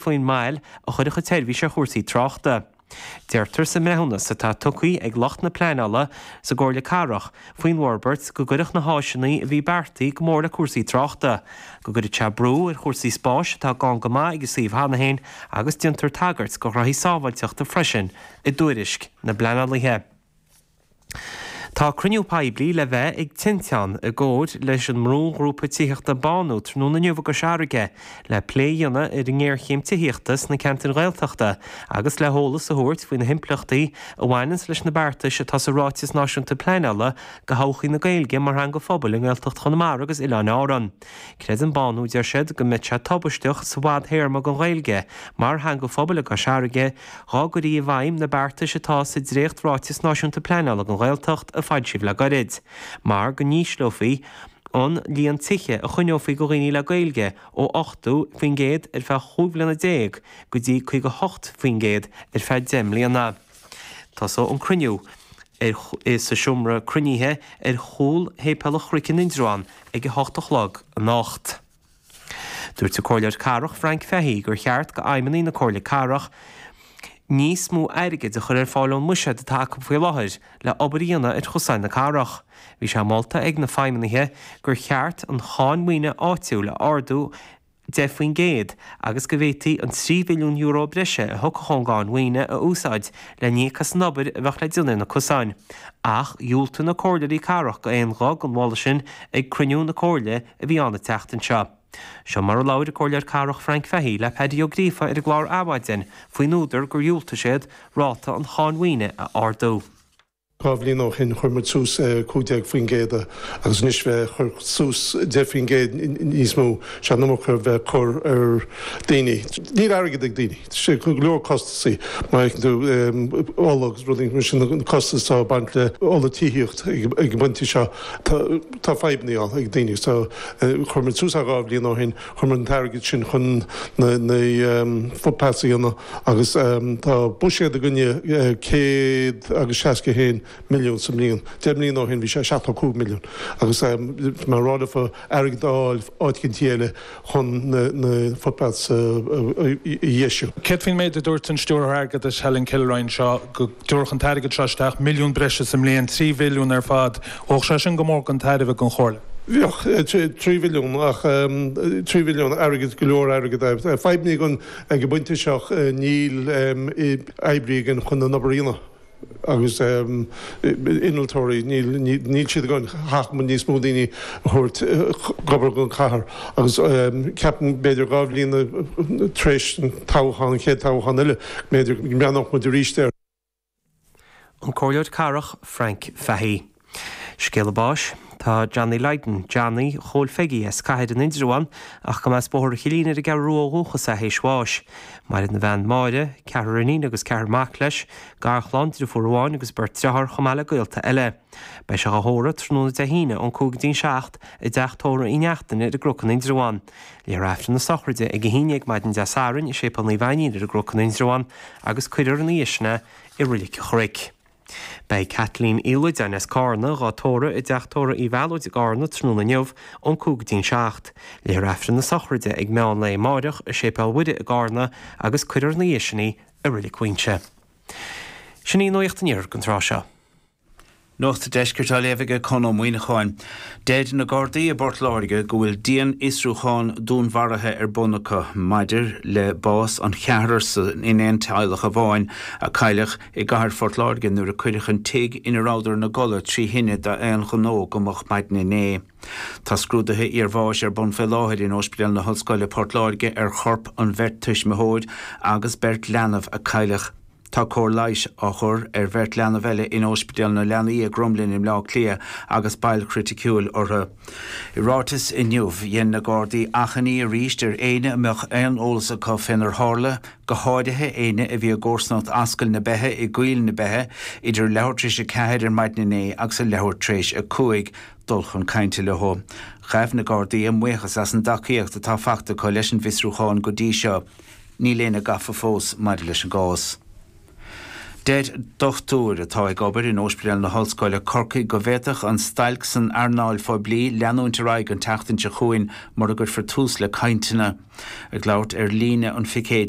Faoin moill a chuirfeadh an tseirbhís ar chúrsaí tráchta. Deirtear sa mbreithiúnas atá tugtha ag lucht na pleanála sa gComhairle Cathrach faoin bhforbairt go gcuirfeadh na háiseanna a bhí beartaithe go mór le cúrsaí tráchta, go gcuirfeadh sé brú ar chúrsaí spáis atá gann go maith ag an suíomh cheana féin agus déantar tagairt do ghraithí sábháilteachta freisin i dtuairisc na bpleanálaithe. Tá cruinniú poiblí le bheith ag Tinteán i gcomhair leis an mbrúghrúpa tithíochta Bánú tráthnóna inniu i gCois Fharraige le plé a dhéanamh ar an ngéarchéim tithíochta sna ceantair Ghaeltachta agus le heolas a thabhairt faoi na himpleachtaí a bhaineanns leis na beartais atá sa Ráiteas Náisiúnta Pleanála do thodhchaí na Gaeilge mar theanga phobail i nGaeltacht Chonamara agus Oileáin Árann. Creideann Bánú, deir siad, go mbeadh sé tubaisteach sa bhfadthéarma don Ghaeilge mar theanga phobail i gCois Fharraige dhá gcuirí i bhfeidhm na beartais atá sa dréacht-Ráiteas Náisiúnta Pleanála don Ghaeltacht a foilsíodh le gairid, mar go n-ísleofaí an líon tithe a choinneofaí do dhaoine le Gaeilge ó 80% ar feadh 15 bhliana go dtí 58% ar feadh 10 mbliana. Tosóidh an cruinniú ar sa seomra cruinnithe ar chúl Shéipéal an Chnoic in Indreabhán ag a hocht a chlog anocht. Dúirt an Comhairleoir Cathrach Frank Fahey gur cheart do fheidhmeannaigh na Comhairle Cathrach níos mó airgid a chur ar fáil ón mbuiséad atá acu faoi láthair le obair a dhéanamh ar chosáin na cathrach. Bhí sé molta ag na feidhmeannaithe gur cheart an cháin mhaoine áitiúil a ardú 10% agus go bhféadfaí an €3 mhilliún breise a thiocfadh ón gcáin mhaoine a úsáid le n-íoc as an obair a bheadh le déanamh ar na cosáin. Ach dhiúltaigh na comhairleoirí cathrach d'aon ghuth don mholadh sin ag cruinniú na comhairle a bhí ann an tseachtain seo. Seo mar a labhair an Comhairleoir Cathrach Frank Fahey le Paddy Ó Gríofa ar an gclár Adhmhaidin faoin údar gur dhiúltaigh siad ráta an cháin mhaoine a ardú. Dhá bhliain ó shin chuir muid suas 15% agus anois bheith ag cur suas 10% níos mó, sé an iomarca a bheith ag cur ar daoine. Níl airgead ag daoine. Tá sé go leor costasaí má fheiceann tú ola agus rudaí mar sin, na costais atá ag baint le ola tithíocht ag an bpointe seo. Tá fadhbanna ann ag daoine so chuir muid suas é dhá bhliain ó shin, chuir muid an t-airgead sin chun na footpaths a dhéanamh agus tá buiséad againne 161 milliún sa mbliain. 10 mbliana ó shin bhí sé 75 milliún agus mar a rá leofa airgead a fháil áit eicínt eile chun na footpaths a dheisiú. Céard faoin méid a dúirt an Stiúrthóir Airgeadais Helen Kilroy anseo, go dtabharfadh an t-airgead seo isteach, milliún breise sa mbliain, 3 mhilliún ar fad, bheadh sé sin go mór chun tairbhe don Chomhairle? Bheadh, 3 mhilliún, ach 3 mhilliún, airgead, go leor airgead. Fadhbanna againn ag an bpointe seo, níl oibrí againn chun an obair a dhéanamh. agus innealtóirí, níl siad againn, chaithfeadh muid níos mó daoine a thabhairt ag obair don chathair agus ceapaim b'fhéidir dhá bhliain tar éis an toghchán, an chéad toghchán eile, b'fhéidir go mbreathnódh muid arís air. An Comhairleoir Cathrach Frank Fahey. Scéala báis, Tá Johnny Lydon, Johnny Chóil Pheigí as Cathair in Indreabhán ach go mba as Bóthar an Chillín ar an gCeathrú Rua ó dhúchas é théis bháis. Maireann a bhean Máire, ceathrar iníon agus ceathrar mac leis, garchlann, driofúr amháin agus beirt driotháir chomh maith le gaolta eile. Beidh sé dhá thórramh tráthnóna Dé hAoine ón 5 go dtí an 7 i dteach tórraimh Uí Neachtain ar an gCnoc in Indreabhán. Léifear Aifreann na sochraide ag 11 maidin Dé Sathairn i Séipéal Naomh Ainnín ar an gCnoc in Indreabhán agus cuirfear ina dhiaidh sin é i Roilig an Chnoic. Beidh Caitlín Uí Loideáin as Cárna dhá tórramh i dteach tórraimh Uí Mhealóid i gCárna tráthnóna inniu ón 5 go dtí'n 7. Léifear Aifreann na sochraide ag meán lae amáireach i Séipéal Mhuire i gCárna agus cuirfear ina dhiaidh sin í i Roilig Mhuínse. Sin í Nuacht an Iarthair don tráth seo. Nuacht an Deiscirt á léamh aige Conn Ó Muíneacháin. Deir na Gardaí i bPort Láirge go bhfuil dianfhiosrúchán dúnmharaithe ar bun acu maidir le bás an cheathrair in aon teaghlach amháin a cailleadh i gcathair Phort Láirge nuair a cuireadh an tigh ina rabhadar ina gcodladh trí thine d'aon ghnó go moch maidin inné. Tá scrúduithe iarbháis ar bun fé láthair in Ospidéal na hOllscoile Port Láirge ar chorp an bheirt tuismitheoir agus beirt leanbh a cailleadh. Tá cóir leighis á chur ar bheirt leanbh eile in Ospidéal na Leanaí i gCromghlinn i mBleá Cliath agus bail chriticiúil orthu. I ráiteas inniu, dhein na Gardaí achainí arís ar éinne a mbeadh aon eolas acu fénar tharla, go háirithe éinne a bhí i gcomharsanacht Ascaill na Beithe i gCoill na Beithe idir leathuair tar éis a ceathair ar maidin inné agus a leathuair tar éis a cúig, dul chun cainte leo. Ghabh na Gardaí a mbuíochas as an dtacaíocht atá fachta acu leis an bhfiosrúchán go dtí seo. Níl éinne gafa fós maidir leis an gcás. Deir dochtúir atá ag obair in Ospidéal na hOllscoile, Corcaigh go bhféadfadh an stailc san earnáil phoiblí leanúint ar aghaidh an tseachtain seo chugainn mura gcuirfear tús le cainteanna. Ag labhairt ar líne an phicéid.